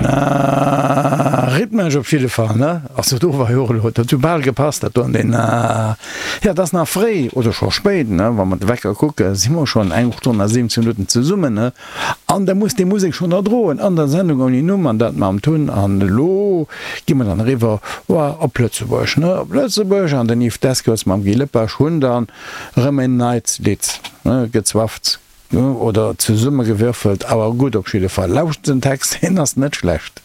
Na, rhythmesch op jidde Fall, ne? Also do war jo och elo, dat huet bal gepasst, dat do an deen, jo, et ass nach fréi, oder scho spéit, ne? Wa mer de Wecker kucken, si mer schonn eng Stonn a 17 Minutten zesummen, ne? An da muss déi Musek schonn erdroen an der Sendung ouni Numm an dat mam Tun. An elo gi mer dann eriwwer op Lëtzebuerg, ne? Op Lëtzebuerg an den Yves Descours mam Guy Lepage hunn dann erëm en neit Lidd, ne, gezwafft oder zesummegewürfelt, awer gutt op jidde Fall. Lauschtert den Text, deen ass net schlecht.